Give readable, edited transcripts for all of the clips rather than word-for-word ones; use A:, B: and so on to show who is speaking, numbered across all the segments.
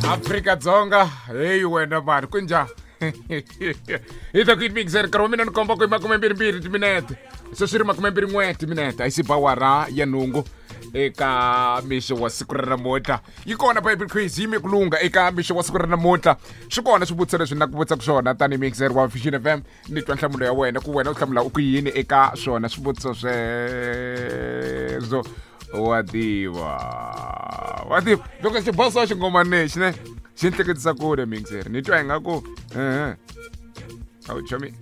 A: Afrika-Dzonga, heyi wena mani, ku njhani? Hi ta ku yini mixer nkarhi wa mina ni komba ku i 22 timinete, se swi ri 21 timinete, a yi si ba wara ya nhungu eka mixo wa siku ra namuntlha. Yi kona Bible quiz, yime ku lungha eka mixo wa siku ra namuntlha. Swi kona swivutiso leswi ni la ku vutisaka swona tanihi mixer wa Vision FM, ni twa nhlamulo ya wena, ku wena u hlamula u ku yini eka swona swivutiso sweswo. Wa tiva, wa tiva, loko xiboso xingomani lexi ne xi ni hleketisa kule mixer, ni twa ingaku ehe a wu chomi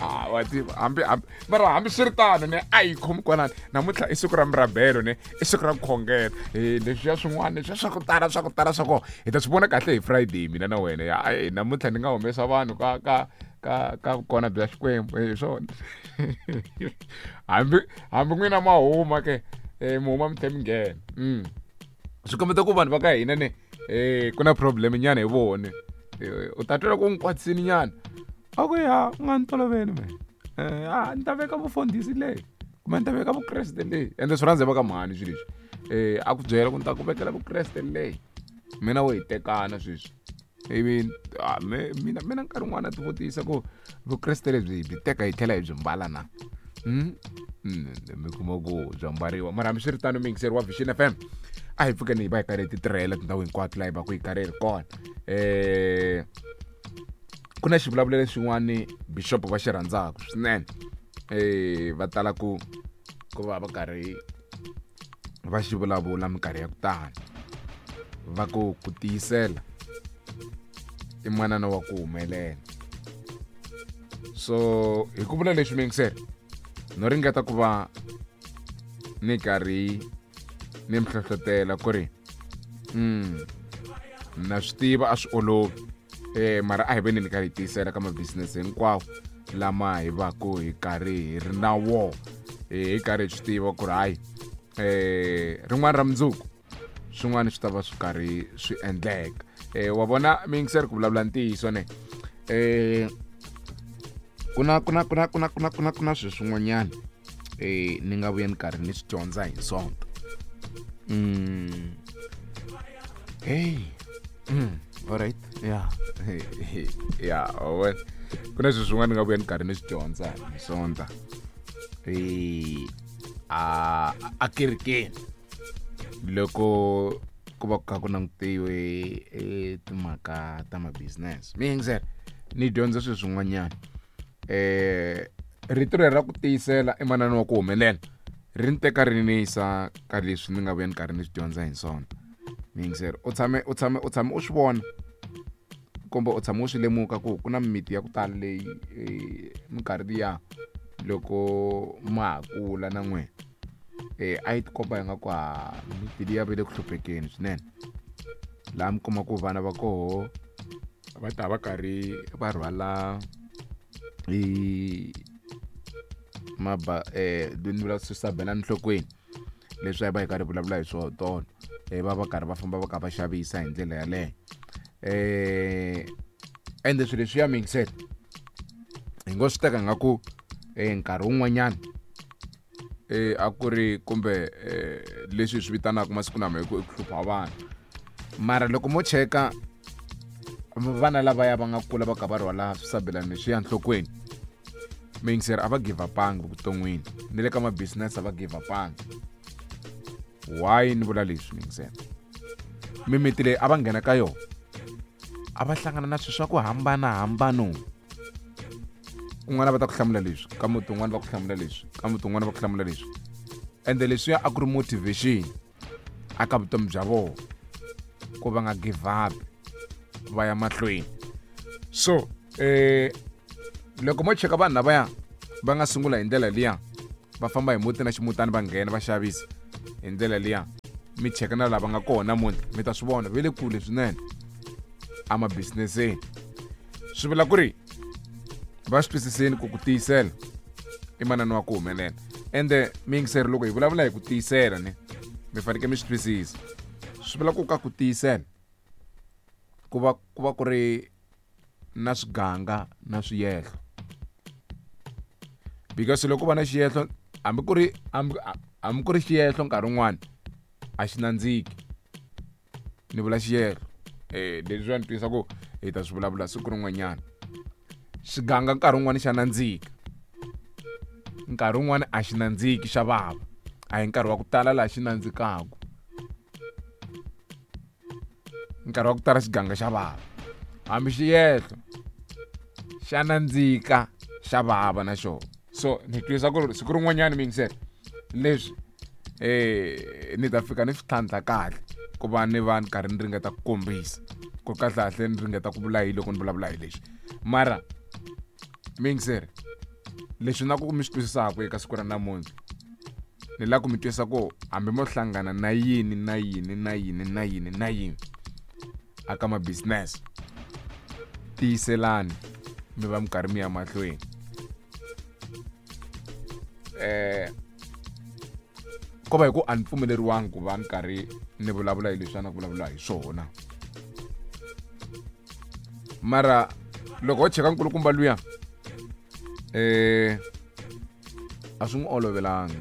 A: a wa tiva, hambi hambi mara hambi swi ri tano ne a yi khomi kwalani. Namuntlha i siku ra murabelo ne, i siku ra ku khongela. Leswiya swin'wana leswiya swa ku tala, swa ku tala swa kona hi ta swi vona kahle hi Friday, mina na wena. Ya namuntlha ni nga humesa vanhu ka ka ka ka vukona bya Xikwembu hi swona. Hambi hambi n'wina ma huma ke, mi huma mi tlhe mi nghena. Swi kombeta ku vanhu va ka hina ne ku na problem nyana hi vone. U ta twela ku n'wi kwatisini nyana, a ku ya u nga ni toloveli me, a ni ta veka vufundhisi leyi kumbe ni ta veka vukreste leyi, ende swi rhandza va ka mhani swilo leswi. A ku byela ku ni ta ku vekela vukreste leyi, mina wo hi tekana sweswi, ivi mina mina nkarhi wun'wana ti vutisa ku vukreste lebyi hi byi teka hi tlhela hi byi mbala na. Mi kuma ku bya mbariwa, mara hambiswiritano muyingiseri wa Vision FM, a hi pfukeni hi va hi karhi hi ti tirhela tindhawu hinkwato laha hi va ku hi karhi hi ri kona. Ku na xivulavulelo xin'wani bishop va xi rhandzaka swinene, va tala ku ku va va karhi va xi vulavula minkarhi ya ku tala, va ku ku tiyisela i manana wa ku humelela. So hi ku vula leswi muyingiseri, no ringeta ku va ni karhi ni mi hlohlotela ku ri na swi tiva a swi olovi, mara a hi veni ni karhi hi tiyisela ka mabisinese hinkwawo lama hi va ku hi karhi hi ri na wo, hi karhi hi swi tiva ku ri hayi, rin'wana ra mundzuku swin'wana swi ta va swi karhi swi endleka. Wa vona miyingiseri, ku vulavula ntiyiso ne, ku na ku na ku na ku na ku na ku na ku na swilo swin'wanyana ni nga vuya ni karhi ni swi dyondza hi Sonto. Hey, alright, yeah, yeah, well, ku na swilo swin'wana ni nga vuya ni karhi ni swi dyondza hi Sonta a a kerekeni, loko ku va ku kha ku langutiwe timhaka ta ma-business. Mi yingisela, ni dyondza swilo swin'wanyana. Rito leri ra ku tiyisela i manana wa ku humelela ri ni teka ri ni yisa ka leswi ni nga vuya ni karhi ni swi dyondza hi Sonto. Mi yingisela, u tshame u tshame u tshame u swi vona kumbe u tshame u swi lemuka ku ku na mimiti ya ku tala leyi minkarhi liya loko ma ha kula na n'wina, a yi tikomba ingaku ha miti liya va le ku hluphekeni swinene, laha mi kuma ku vana va koho va ta va karhi va rhwala i maba ni vula swisabela enhlokweni leswi a hi va hi karhi vulavula hi swona tolo, va va karhi va famba va kha va xavisa hi ndlela yaleyo. Ende swilo leswiya miyingisela hi ngo swi teka ngaku nkarhi wun'wanyana a ku ri kumbe leswi hi swi vitanaka masiku lama hi ku i ku hlupha vanhu, mara loko mo cheka vana lavaya va nga kula va kha va rhwala swisabelani leswiya enhlokweni, miyingiseri, a va give upanga vuton'wini, ni le ka ma-business a va give upanga. Why ni vula leswi miyingiseri? Mimiti leyi a va nghena ka yona a va hlangana na swilo swa ku hambanahambano. Kun'wana va ta ku hlamula leswi, ka muti wun'wana va ku hlamula leswi, ka muti wun'wana va ku hlamula leswi, ende leswiya a ku ri motivation a ka vutomi bya vona ku va nga give up, va ya mahlweni. So loko mo cheka vanhu lavaya va nga sungula hi ndlela liya, va famba hi muti na ximutani, va nghena va xavisa hi ndlela liya, mi cheka na lava nga kona namuntlha, mi ta swi vona ve le kule swinene emabizineseni. Swi vula ku ri va swi twisiseni ku ku tiyisela i manana wa ku humelela. Ende miyingiseri, loko hi vulavula hi ku tiyisela ne, mi fanekele mi swi twisisa, swi vula ku ka ku tiyisela ku va ku va ku ri na swiganga na swiyehlo, because loko va na xiyehlo, hambi ku ri hambi hambi ku ri xiyehlo nkarhi wun'wani a xi nandziki. Ni vula xiyehlo. Leswi ni twisa ku hi ta swi vulavula siku rin'wanyana. Xiganga nkarhi wun'wani xa nandzika, nkarhi wun'wani a xi nandziki, xa vava. A hi nkarhi wa ku tala laha xi nandzikaku, nkarhi wa ku tala xiganga xa vava. Hambi xiyehlo xa nandzika, xa vava na xona. So ni twisa ku ri siku rin'wanyana, mi yingisela leswi, ni ta fika ni swi tlhantlha kahle ku va ni va ni karhi ni ringeta ku kombisa ku kahlekahle ni ringeta ku vula hi loko ni vulavula hi leswi. Mara mi yingiseri, leswi na ku mi swi twisisaka eka siku ra namuntlha, ni lava ku mi twisa ku hambi mo hlangana na yini na yini na yini na yini na yini aka ma business, tiyiselani mi va mi karhi mi ya mahlweni. Ko va hi ku a ni pfumeleriwangi ku va ni karhi ni vulavula hi leswi a na ku vulavula hi swona, mara loko ho cheka nkulukumba luya, a swi n'wi olovelanga.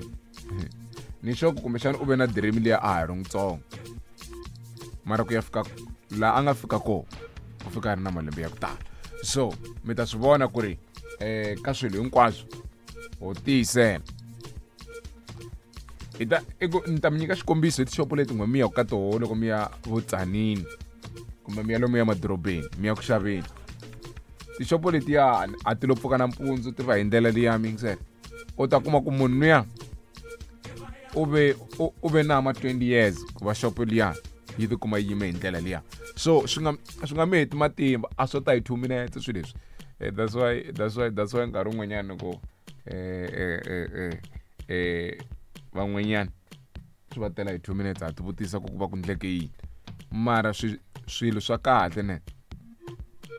A: Ni sure ku kumbexana u ve na dream liya a ha ri ntsongo, mara ku ya fika laha a nga fika kona, u fika a ri na malembe ya ku tala. So mi ta swi vona ku ri ka swilo hinkwaswo ho tiyisela. Hi ta i ku ni ta mi nyika xikombiso hi tixopo leti n'we mi ya ka toho loko mi ya vutsanini kumbe mi ya lomu ya madorobeni mi ya ku xaveni. Tixopo letiya a ti lo pfuka nampundzu ti va hi ndlela liya, mi yingisela. U ta kuma ku munhu luya u ve na ma 20 years ku va xopo liya yi tikuma yi yime hi ndlela liya. So swi nga mi heti matimba, a swo ta hi 2 minutes swilo leswi. That's why nkarhi wun'wanyana ku van'wanyana swi va tela hi 2 minutes, ha ti vutisa ku ku va ku ndleke yini. Mara swilo swa kahle ne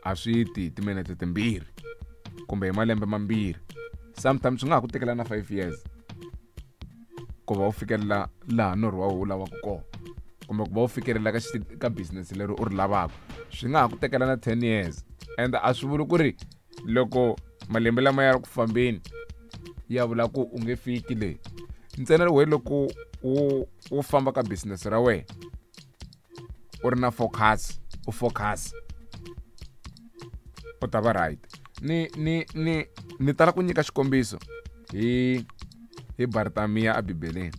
A: a swi ti hi timinete timbirhi kumbe hi malembe mambirhi. Sometimes swi nga ha ku tekela na 5 years ku va u fikelela laha norho wa wu lavaka kona, kumbe ku va u fikelela ka business leri u ri lavaka, swi nga ha ku tekela na 10 years. And a swi vuli ku ri loko malembe lama ya ri ku fambeni ya vula ku u nge fiki le ntsena. We loko wu famba ka business ra wena u ri na focus, u focus, u ta va right. Ni tala ku nyika xikombiso hi Bartamiya ebibeleni.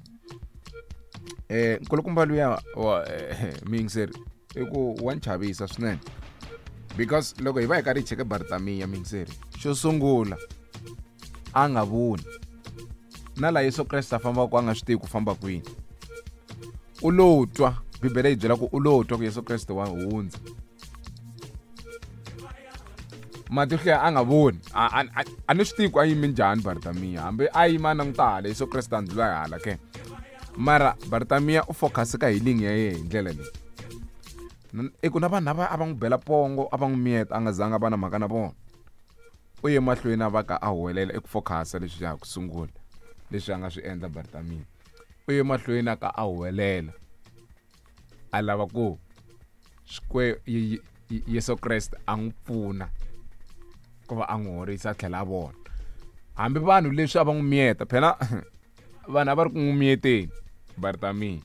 A: Nkulukumba luya wa miyingiseri i ku wa ni chavisa swinene, because loko hi va hi karhi hi cheke Bartamiya, miyingiseri, xo sungula a nga voni na laha Yesu Kreste a fambaka, a nga swi tivi ku famba kwini. U lo twa, Bibele yi byela ku u lo twa ku Yesu Kreste wa hundza. Matihlo ya a nga voni, a ni swi tivi ku a yimi njhani Bartamiya, hambi a yima a languta hala, Yesu Kreste a ndlula hala ke. Mara Bartamiya u focus ka healing ya yehe hi ndlela leyi. I ku na vanhu lava a va n'wi bela pongo, a va n'wi miyeta, a nga zanga a va na mhaka na vona, u ye mahlweni a va ka a huwelela. I ku focusa leswi ya ku sungula leswi a nga swi endla Bartamiya, u ye mahlweni a ka a huwelela, a lava ku Yesu Kreste a n'wi pfuna ku va a n'wi horisa a tlhela a vona. Hambi vanhu leswi a va n'wi miyeta, phela vanhu a va ri ku n'wi miyeteni Bartamiya,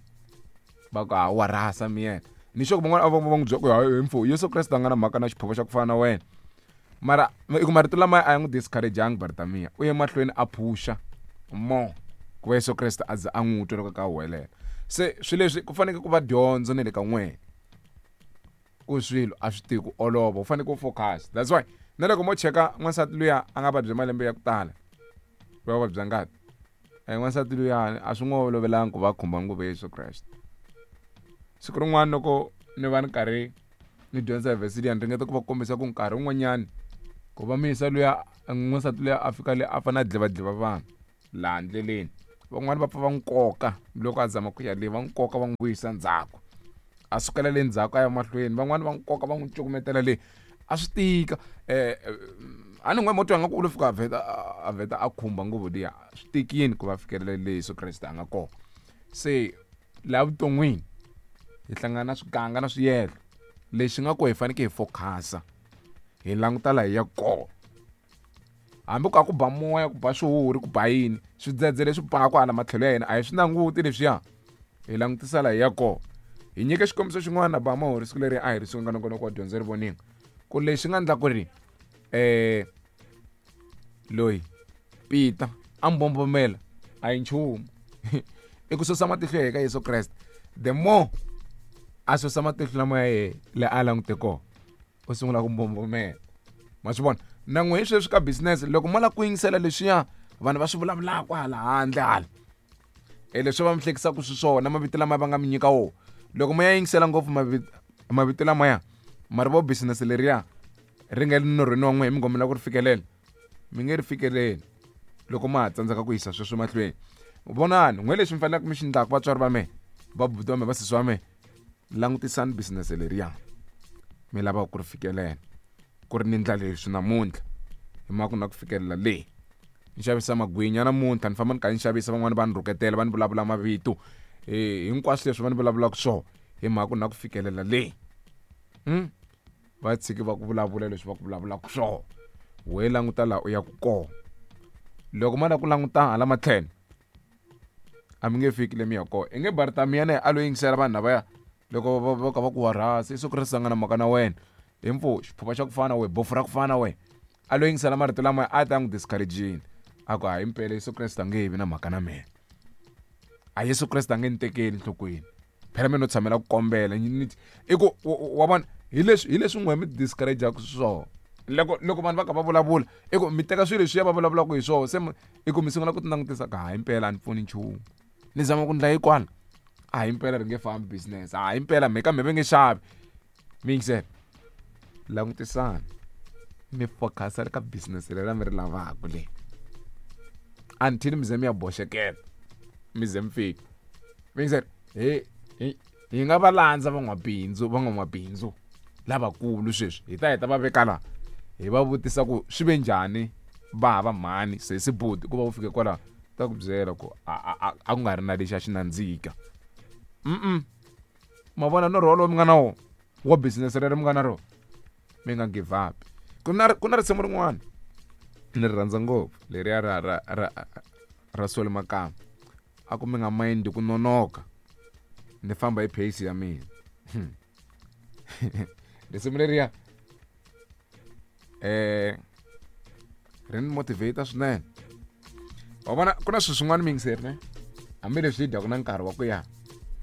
A: va ku ha wa rhasa miyeta. Ni sure ku van'wana a va va n'wi byela ku hayi mfo, Yesu Kreste a nga na mhaka na xiphavo xa ku fana na wena. Mara i ku marito lama a ya n'wi discourageangi Bartamiya, u ye mahlweni a phusha more ku va Yesu Kreste a za a n'wi twa loko ka huwelela. Se swilo leswi ku fanekele ku va dyondzo ne le ka n'wena ku swilo a swi tivi ku olova, u fanekele u focus. That's why na loko mo cheka n'wansati luya a nga vabya malembe ya ku tala, va vabya ngati, n'wansati luyani a swi n'wi olovelanga ku va khumba nguvu ya Yesu Kreste. Siku rin'wana loko ni va ni karhi ni dyondza hi vhesi liya, ni ringeta ku va kombisa ku nkarhi wun'wanyani ku va miyisa luya n'wansati luya a fika le a fanele a dlevadleva vanhu laha ndleleni, van'wani va pfa va n'wi koka loko a zama ku ya le, va n'wi koka va n'wi vuyisa ndzhaku, a sukela le ndzhaku a ya mahlweni, van'wani va n'wi koka va n'wi cukumetela le, a swi tika. A ni n'we mo twa nga ku u lo fika a vheta a khumba nguvu liya, swi tikini ku va fikelela le Yesu Kreste a nga kona. Se laha vuton'wini hi hlangana na swiganga na swiyehlo, lexi nga ko hi fanekele hi focusa, hi languta laha hi ya kona. Hambi ku a ku ba moya, ku ba swihuhuri, ku ba yini, swidzedze leswi baka hala matlhelo ya hina, a hi swi languti leswiya, hi langutisa laha hi ya kona. Hi nyike xikombiso xin'wana ba mahori siku leri a hi ri suka nongonoko wa dyondzo ri voninga ku lexi nga endla ku ri loyi Peter a mbombomela a hi nchumu i ku susa matihlo ya eka Yesu Kreste the more a susa matihlo lama ya yehe le a langute kona u sungula ku mbombomela ma swi vona na n'we hi sweswi ka business loko mo lava ku yingisela leswiya vanhu va swi vulavulaka hala handle hala e leswi va mi hlekisaka swiswona mavito lama va nga mi nyika wona loko mo ya yingisela ngopfu mavito lamaya mara vo business leriya ri nga le norhweni wa n'wehe mi ngomela ku ri fikelela mi nge ri fikeleli loko ma ha tsandzeka ku yisa sweswo mahlweni vonani n'we lexi mi faneleke mi xi ndlaka vatswari va mehe vabuti va mehe vasesi va mehe langutisani business leriya mi lavaka ku ri fikelela ku ri ni ndlela leswi namuntlha hi mhaka ku na ku fikelela leyi ni xavisa magwinya namuntlha ni famba ni kha ni xavisa van'wani va ni rhuketela va ni vulavula mavito hinkwaswo leswi va ni vulavulaka swona hi mhaka ku na ku fikelela leyi Va tshiki va ku vulavula leswi va ku vulavulaka swona we languta laha u yaku kona loko ma la ku languta hala matlhelo a mi nge fiki le mi ya kona i nge Bartamiya na a lo yingisela vanhu lavaya loko va ka va ku wa rhasa Yesu Kreste a nga na mhaka na wena hi mpfu xiphuva xa ku fana we bofu ra ku fana we a lo yingisela marito lama a ta n'wi discourage-ini a ku hayi mpela Yesu Kreste a nge vi na mhaka na mina a Yesu Kreste a nge ni tekeli enhlokweni phela mina no tshamela ku kombela i ku wa vona hi leswi hi leswi n'we mi discourage-aka swona loko loko vanhu va kha va vulavula i ku mi teka swilo leswiya va vulavulaka hi swona se i ku mi sungula ku ti langutisa ka hayi mpela a ni pfuni nchumu ni zama ku ndla yikwala a hi mpela ri nge fambi business a hi mpela mhe kambe va nge xavi mi yingisela langutisani mi focus ka business leri mi ri lavaka le until mi ze mi ya boxekela mi ze mi fika mi yingisela hi hi hi nga va landza van'wabindzu van'wamabindzu lavakulu sweswi hi ta heta va veka la hi va vutisa ku swi ve njhani va hava mhani sesi buti ku va u fike kwalaho ta ku byela ku a a ku nga ri na lexi a xi nandzika mm ma vona norho wolowo mi nga na wona wa business rero mi nga na rona mi nga give up ku na ku na risimu rin'wana ni ri rhandza ngopfu leriya ra ra ra ra Solly Makamba a ku mi nga mind ku nonoka ni famba hi pace ya mina risimu leriya ri ni motivate swinene wa vona ku na swilo swin'wana miyingiseri ne hambileswi hi dyaka na nkarhi wa ku ya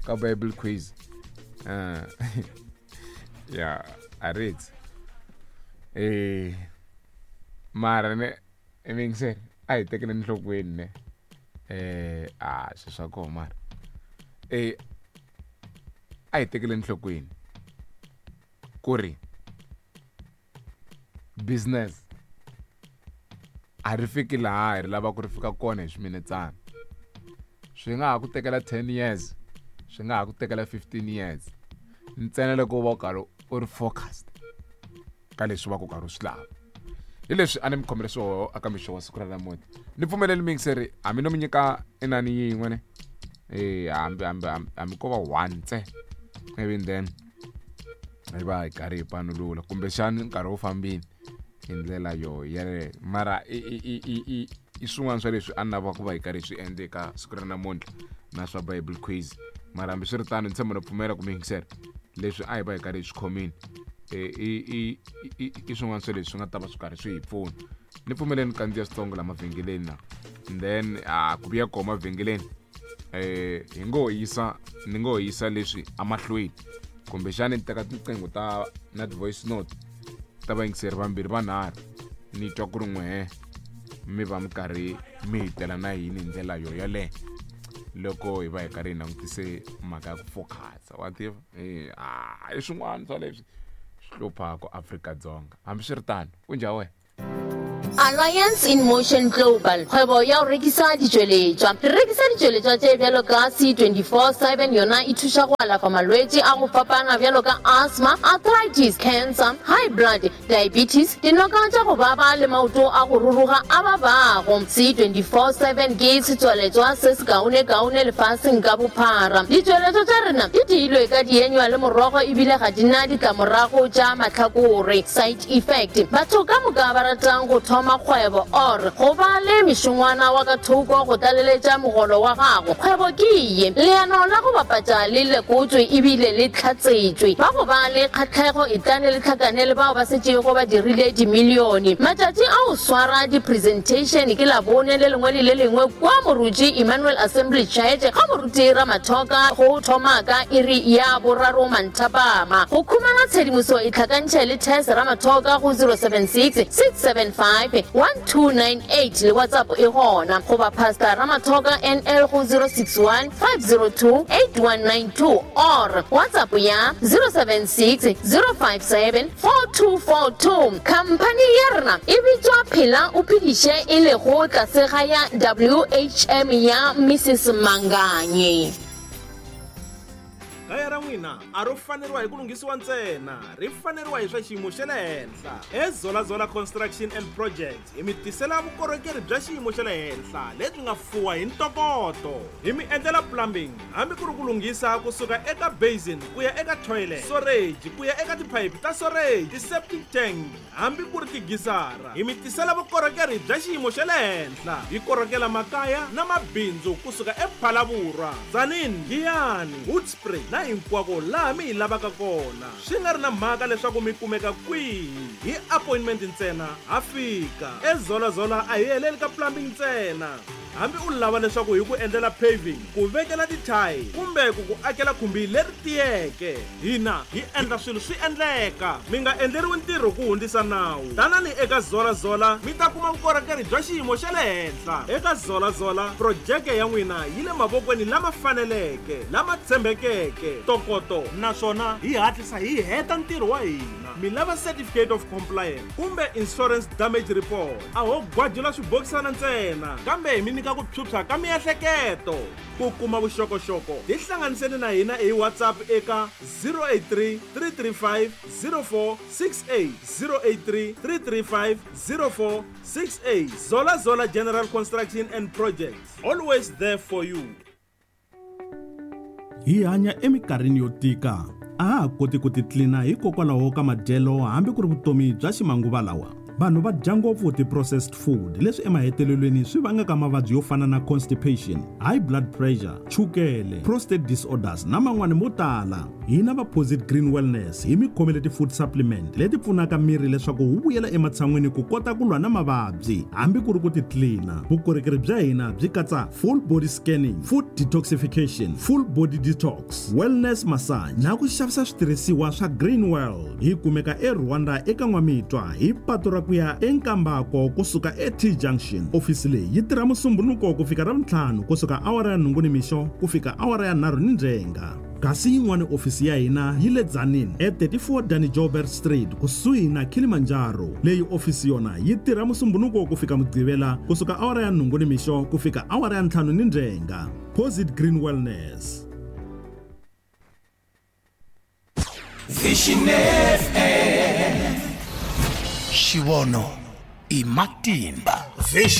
A: ka bible quiz ya a ritsi mara ne miyingiseri a hi tekele enhlokweni ne a swilo swa kona mara a hi tekele enhlokweni ku ri business a ri fiki laha hi ri lava ku ri fika kona hi swiminetsana swi nga ha ku tekela 10 years swi nga ha ku tekela 15 years ntsena loko u va u karhi u ri focused ka leswi va ku karhi u swi lava hi leswi a ni mi khomele swoho aka mixo wa siku ra namuntlha ni pfumeleli miyingiseri hambi no mi nyika inani yin'we ne e hambi hambi hambi ko va one ntsena ivi then hi va hi karhi hi panulula kumbexani nkarhi wu fambile hi ndlela yo yeleyo mara i i i i i i swin'wana swa leswi a ni lava ku va hi karhi hi swi endla eka siku ra namuntlha na swa bible quiz mara hambiswiritano ni tshemba no pfumela ku mi yingisela leswi a hi va hi karhi hi swi khomile i i i swin'wana swa leswi swi nga ta va swi karhi swi hi pfuna ni pfumeleni kandziya switsongo la mavhengeleni na then a ku vuya kona mavhengeleni hi ngo yisa ni ngo yisa leswi amahlweni kumbexani ni teka tinqingho ta na ti-voice note ta vayingiseri vambirhi vanharhu ni twa ku ri n'wehe mi va mi karhi mi hi tela na yini hi ndlela yo yaleyo loko hi va hi karhi hi langutise mhaka ya ku focus wa tiva e a i swin'wana swa leswi swi hluphaka Afrika-Dzonga hambiswiritano ku njhani wena
B: Alliance in Motion Global, kgwebo ya go rekisa ditšweletšwa. Re rekisa ditšweletšwa tše bjalo ka C24/7, yona e thuša go alafa malwetši a go fapana bjalo ka asthma, arthritis, cancer, high blood, diabetes, dinoka tša go baba le maoto a go ruruga a babago. C24/7 ke setswaletšwa se sekaonekaone lefaseng ka bophara. Ditšweletšwa tša rena di diilwe ka dienywa le morogo ebile ga di na ditlamorago tša mahlakore, side effect. Batho ka moka ba ratang go thoma thoma kgwebo or go ba le mešongwana wa ka thoko go tlaleletša mogolo wa gago, kgwebo ke ye. Leano la go bapatša le lekotšwe ebile le hlatsetšwe. Ba go ba le kgahlego etlane le hlakane le bao ba setšego ba dirile dimilione. Matšatši a go swara di-presentation ke Labone le lengwe le le lengwe kua Moruti Emmanuel Assembly Church ga Moruti Ramathoka go thoma ka iri ya boraro manthapama. Go khumana tshedimoso itlhakantšhe le Tess Ramathoka go 076 675 1298 le WhatsApp e gona, goba Pastor Ramathoka NL go 061 502 8192 or WhatsApp ya 076 057 4242. Khamphani ya rena e bitšwa Phela o Phediše e lego tlase ga ya WHM ya Mrs Manganye.
C: Kaya ra n'wina a ro faneriwa hi ku lunghisiwa ntsena, ri faneriwa hi swa xiyimo xa le henhla. EZola Zola Construction and Projects hi mi tisela vukorhokeri bya xiyimo xa le henhla lebyi nga fuwa hi ntokoto. Hi mi endlela plumbing hambi ku ri ku lunghisa kusuka eka basin ku ya eka toilet, storage ku ya eka tiphayiphi ta storage, ti-septic tank hambi ku ri tigisara. Hi mi tisela vukorhokeri bya xiyimo xa le henhla. Hi korhokela makaya na mabindzu kusuka ePhalaborwa, Tzaneen, Giyani, Hoedspruit na hinkwako laha mi hi lavaka kona. Swi nga ri na mhaka leswaku mi kumeka kwihi, hi appointment ntsena ha fika. EZola Zola a hi heleli ka plumbing ntsena. Hambi u lava leswaku hi ku endlela paving, ku vekela tithayi kumbe ku ku akela khumbi leri tiyeke, hina hi endla swilo swi endleka. Mi nga endleriwi ntirho ku hundzisa nawu. Tanani eka Zola Zola mi ta kuma vukorhokeri bya xiyimo xa le henhla. Eka Zola Zola projeke ya n'wina yi le mavokweni lama faneleke, lama tshembekeke, ntokoto, naswona hi hatlisa hi heta ntirho wa hina. Mi lava certificate of compliance kumbe insurance damage report, a ho gwajula swibokisana ntsena, kambe hi mi nyika ku phyuphya ka miehleketo. Ku kuma vuxokoxoko tihlanganiseni na hina hi WhatsApp eka 083 335 0468, 083 335 0468. Zola Zola General Construction and Projects, always there for you.
D: Hi hanya eminkarhini yo tika. A ha ha koti ku titlina hikokwalaho ka madyelo hambi ku ri vutomi bya ximanguva lawa. Vanhu va dya ngopfu ti-processed food leswi emahetelelweni swi vangaka mavabyi yo fana na constipation, high blood pressure, chukele, prostate disorders na man'wani mo tala. Hina va Posit Green Wellness hi mi khomele ti-food supplement leti pfunaka miri leswaku wu vuyela ematshan'wini ku kota ku lwa na mavabyi hambi ku ri ku titlina. Vukorhokeri bya hina byi katsa full body scanning, food detoxification, full body detox, wellness massage na ku xavisa switirhisiwa swa Green World. Hi kumeka eRwanda eka N'wamitwa hi patu ra ku ya eNkambako kusuka eT Junction. Ofisi leyi yi tirha Musumbunuko ku fika Ravuntlhanu kusuka awara ya 8 nimixo ku fika awara ya 3 nindzhenga. Kasi yin'wana ofisi ya hina yi le Tzaneen e34 Danny Joubert Street kusuhi na Kilimanjaro. Leyi ofisi yona yi tirha Musumbunuko ku fika Mugqivela kusuka awara ya 8 nimixo ku fika awara ya 5 nindzhenga. Posit Green Wellness.
E: Vision FM.
F: Xivono i matimba.
E: Vision.